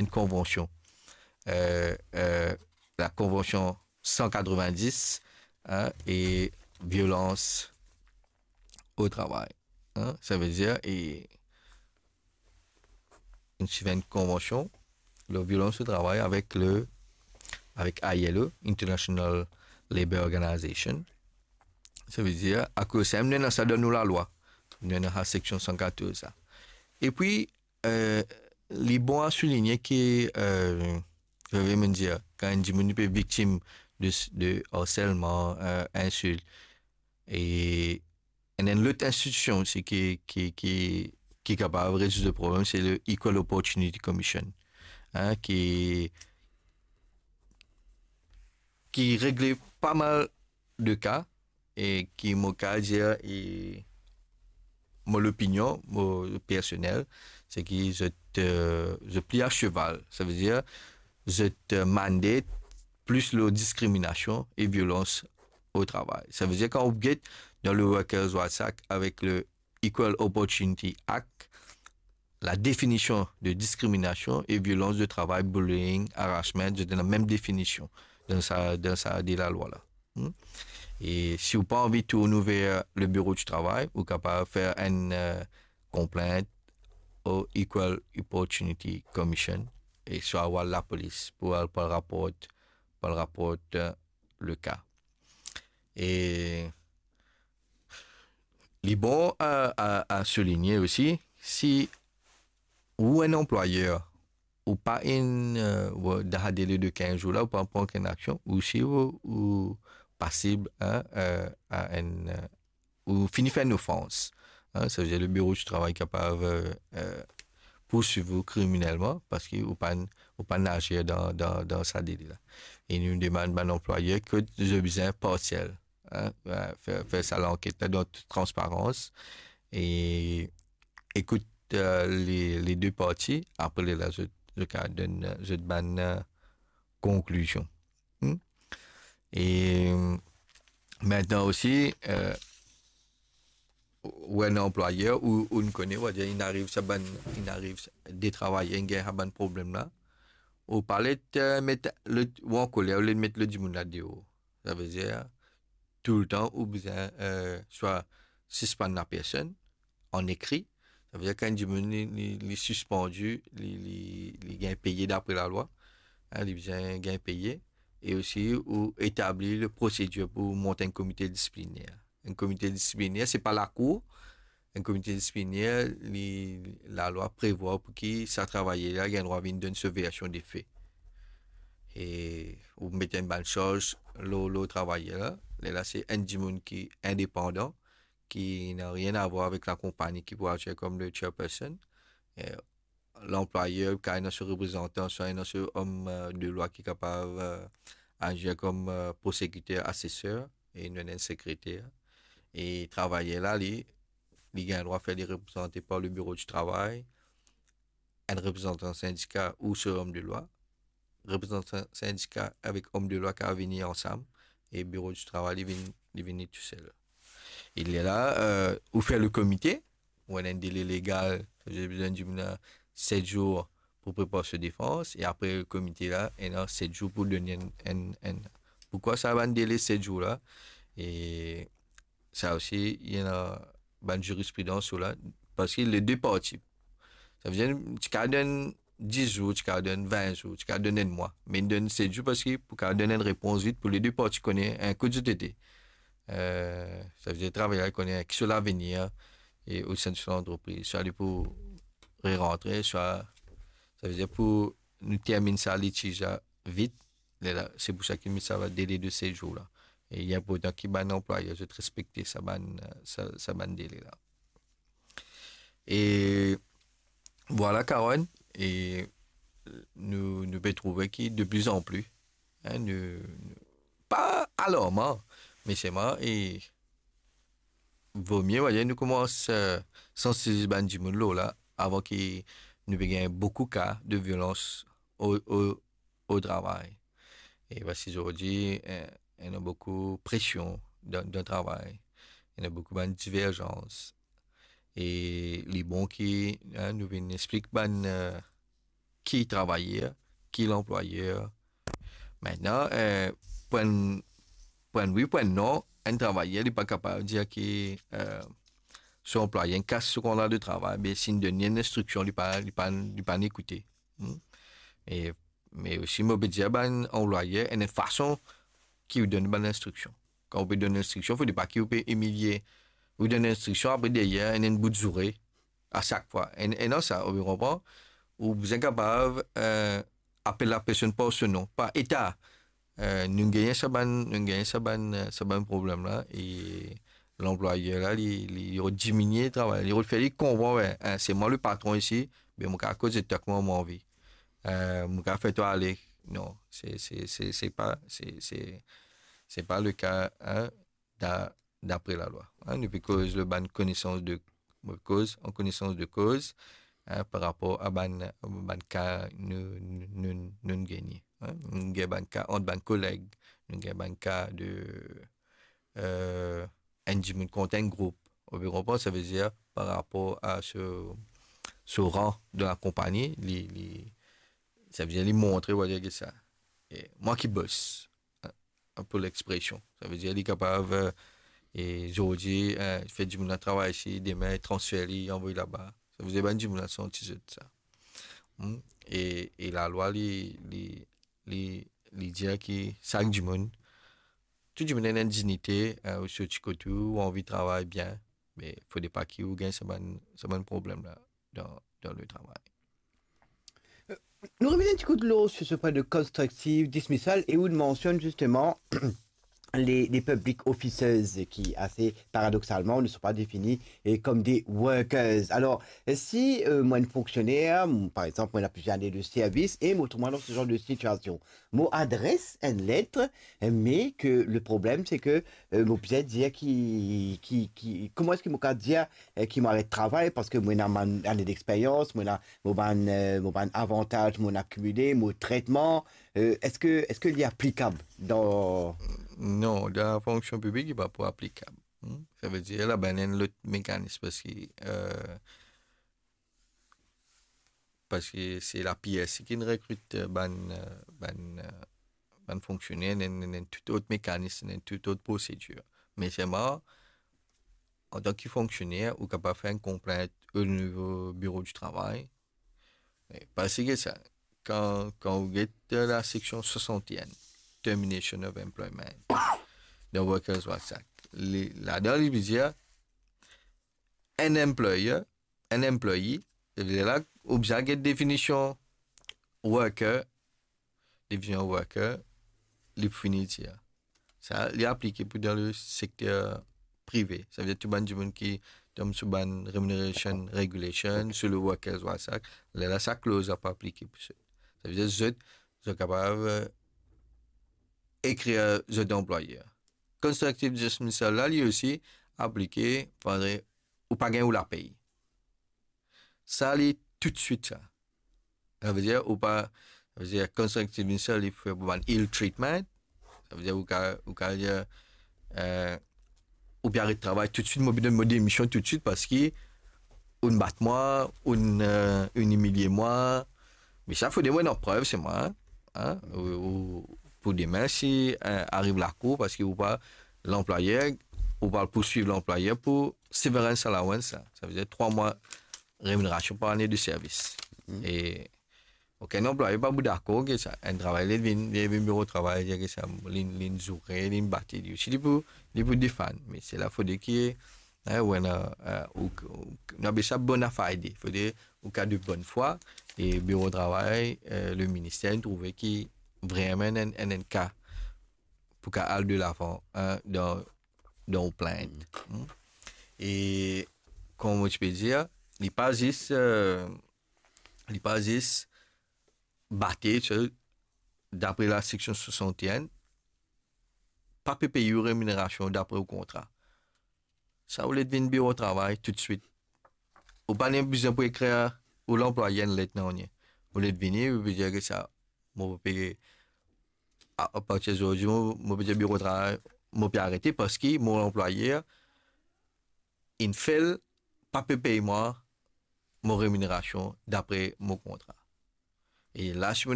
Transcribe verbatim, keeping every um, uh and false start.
enn konvansion. Euh, euh, la konvansion san katrovin-dis, hein, e violans o travay. Hein, savedir, e inn sign enn konvansion lor violans o travay avek le, avek I L O, International Labour Organization. Savedir, akoz sa, nou ena sa dan nou lalwa. Nou ena sa seksion san katorz sa. Epi, euh, li bon a souligne ki, euh, zot vinn dir, kan enn dimoun pe viktim de, de harselman, euh, insilt, e enn, enn lot institision osi ki, ki, ki, ki kapav rezourd le problem, se le Equal Opportunity Commission, hein, ki, ki regle pa mal de ka, e ki mo kapav dir, e mo lopinion, mo personel, se ki zot, euh, zot pli a cheval. Savedir, zot, euh, mandate plis lor diskriminasion e violans o travay. Savedir, kan ou get dan le Workers' Rights Act avek le Equal Opportunity Act, la definision de diskriminasion e violans de travay, bullying, harassment, zot ena mem definision dan sa, dan sa de lalwa la. Hmm? E si ou pa anvi tourn ver le biro di travay, ou kapav fer enn, euh, konplint o Equal Opportunity Commission, e swa ou al lapolis pou al, pou al raport, pou al raport, euh, le ka. E li bon a, a, a souligne osi, si ou enn anplwayer, ou pa inn, euh, ou dan sa dele de kinz zour la, ou pa pran okenn aksion, ou si ou, ou pasib, hein, euh, a enn, euh, ou fini fer enn ofans, hein, savedir le biro di travay kapav, euh, euh, poursuiv ou kriminelman, parski ou pa'nn, ou pa'nn azir dan, dan, dan sa dele la. E nou demann bann anplwayer ki zot bizin parsiel, hein, euh, fer, fer sa lanket la dan tout transparans, e ekout, euh, le, le de parti, apre lerla zot, zot kapav donn, euh, zot bann, euh, konklizion. Hmm? E, euh, mintnan osi, euh, ou enn anplwayer, ou, ou kone, ou va dir, inn ariv sa bann, inn ariv sa, de travayer, inn gagn sa bann problem la, ou pa le, euh, met le, ou ankoler, ou le met le dimoun la deor. Savedir, toultan ou bizin, euh, swa sispann la personn an ekri. Savedir, kan enn dimoun li, li, li sispandi, li, li, li gagn peye dapre lalwa, hein, li bizin gagn peye. E osi, ou etabli le prosedir pou mont enn komite disipliner. Enn komite disipliner, se pa lakour. Enn komite disipliner, li, lalwa prevwar pou ki sa travayer la gagn drwa vinn donn so version de fe. E ou met enn bann sarz lor, lor travayer la. Lerla se enn dimoun ki indepandan, ki nanye a vwar avek lakonpagni ki pou azir kom le chairperson. E lanplwayer kapav ena so reprezantan, swa ena so om, euh, de lwa ki kapav, euh, azir kom, euh, prosekiter, aseser, e nou ena enn sekreter. E travayer la, li, li gagn drwa fer li reprezante par le biro di travay, enn reprezantan sindika ou so om de lwa. Reprezantan sindika avek om de lwa kapav vini ansam, e biro di travay, li vinn, li vini tousel. E lerla, euh, ou fer le komite, ou ena enn dele legal, savedir bizin dimoun la set zour pou prepar so defans, e apre komite la, ena set zour pou donn enn, enn, enn. Poukwa sa bann dele set zour la? E sa osi, ena bann zirispridans lor la, parski le de parti. Savedir, ti kapav donn dis zour, ti kapav donn vin zour, ti kapav donn enn mwa. Me inn donn set zour parski pou kapav donn enn repons vit pou le de parti kone, hein, kot zot ete. Euh, savedir, travayer la kone ki so lavenir, e osin de so lantrepriz. Swa li pou re-rantre, swa, savedir, pou nou terminn sa litiz la vit, lerla, se pou sa ki met sa dele de set zour la. E li inportan ki bann anplwayer zot respekte sa bann, sa, sa bann dele la. E vwala, Caron, e nou, nou pe trouve ki de pli an pli, hein, nou, nou, pa alarman, me selman, e vomie, vwala, nou koumans, euh, sansibiliz bann dimoun lor la, avan ki nou pe gagn boukou ka de violans o, o, o travay. E parski zordi, eh, ena boukou presion dan, dan travay. Ena boukou bann diverzans. E li bon ki, hein, nou vinn explik bann, euh, ki travayer, ki lanplwayer. Aster, eh, pran, pran wi, pran non, enn travayer, li pa kapav dir ki, eh, so anplwaye inn kas so kontra de travay, be si inn donn li enn instriksion, li pa, li pa, li pa ekoute. Hmm? E, me osi, mo pe dir bann anplwayer, ena enn fason ki ou donn bann instriksion. Kan ou pe donn instriksion, fode pa ki ou pe imilie. Ou donn instriksion, apre deryer, ena enn bout zoure a sak fwa. E, e non sa, ou pe konpran? Ou bizin kapav, eh, apel lapersonn par so non, par eta. Eh, nou gagn sa bann, nou gagn sa bann, eh, sa bann problem la, e lanplwayer la, li, li, li diminie travay, li fer li konpran, we, eh, se mwa le patron isi, be mo kapav koz ek twa kouma mo anvi. Eh, mo kapav fer twa ale. Non, se, se, se, se pa, se, se, se pa le ka, eh, da-, dapre lalwa. Eh, nou pe koz lor bann konesans de, koz, an konesans de koz, eh, par rapor a bann, bann ka nou, nou, nou, nou gagne. Eh, nou gagn bann ka ant bann koleg, nou gagn bann ka de, eh, enn dimoun kont enn group. Ou pe konpran, savedir par rapor a so, so ran dan lakonpani, li, li, savedir li montre, ou va dir ki sa, e mwa ki bos, eh, pou lexpresion. Savedir li kapav, eh, e zordi, eh, fer dimoun la travay isi, demin transfer li, anvoy laba. Savedir bann dimoun la santi zot sa. Hmm? E, e lalwa li, li, li, li dir ki sak dimoun, tou dimoun ena enn dignite, eh, ou sorti kot ou, ou anvi travay bien, me fode pa ki ou gagn sa bann, sa bann problem la dan, dan le travay. Nou revinn enn ti kout lor sur ce point de constructive dismissal e ou mansionn justement les, les public officers qui, assez paradoxalement, ne sont pas définis eh, comme des workers. Alors, eh, si euh, moi, un fonctionnaire, m- par exemple, moi, il a plusieurs années de service, et moi, moi, dans ce genre de situation, moi, adresse une lettre, eh, mais que le problème, c'est que euh, moi, peut-être dire qui, qui, qui, comment est-ce que moi, peut dire eh, ki mo aret travay, parski mo ena bann ane dexperyans, mo ena mo bann, eh, mo bann avantaz mo inn akimile, mo tretman, eh, eski, eski li aplikab dan... Non, dan lafonksion piblik, li pa pou aplikab. Hmm? Savedir, la bann enn lot mekanis, parski, eh, parski se la P S C ki inn rekrit, eh, bann, eh, bann, eh, bann fonksioner, ena, ena, ena tou lot mekanis, ena tou lot prosedir. Me selman, antan ki fonksioner, ou kapav fer enn konplint o nivo biro di travay. Me pa seki sa, kan, kan ou get laseksion swasant-e-enn, Termination of Employment, dan Workers Rights Act, li, ladan li pe dir, enn employer, enn employee, e la, ou bizin get definision worker, definision worker, li pou fini dir. Sa, li aplike pou dan le sekter prive. Savedir tou bann dimoun ki tom sou bann remuneration regulation, sou le Workers Rights Act, lerla sa kloz la pou aplike pou zot. Savedir zot, zot kapav, eh, ekrir zot anplwayer. Constructive dismissal la, li osi aplike, fode ou pa gagn ou lapey. Sa, li toutswit sa. Savedir, ou pa, savedir, constructive dismissal, li fer pou bann ill treatment. Savedir, ou ka, ou ka dir, eh, ou pe aret travay toutswit, mo pe donn mo demision toutswit parski ou'nn bat mwa, ou'nn, eh, ou'nn imilie mwa. Me sa, fode mo ena prev, se mwa, hein, ou, ou, pou demin, si, eh, ariv lakour, parski ou pa, lanplwayer, ou pa pouswiv lanplwayer pou severance allowance, sa. Savedir trwa mwa reminerasion par ane de servis. E okenn anplwayer pa pou dakor ki sa, enn travayer li vinn, li vinn biro travay, dir ki sa, li, li zoure, li bate, li osi, li pou, li pou defann. Me se la fode ki, hein, ou ena, eh, ou, ou, nou apel sa bona fide, fode ou ka de bonn fwa, e biro travay, eh, le minister, inn trouve ki vreman enn, enn, enn ka pou ka al de lavan, hein, dan, dan ou plint. Hmm. E, kouma mo ti pe dir, li pa zis, eh, li pa zis bate, so, dapre laseksion swasant-e-enn, pa pe pey ou reminerasion dapre ou kontra. Sa, ou le vinn biro travay toutswit. Ou pa ni bizin pou ekrir ou lanplwayer enn let nanye. Ou le vini, ou pe dir ki sa, mo pe, a, apartir zordi, mo, mo pe dir biro travay, mo pe arete parski mo lanplwayer inn fail, pa pe pey mwa mo reminerasion dapre mo kontra. E la, si mo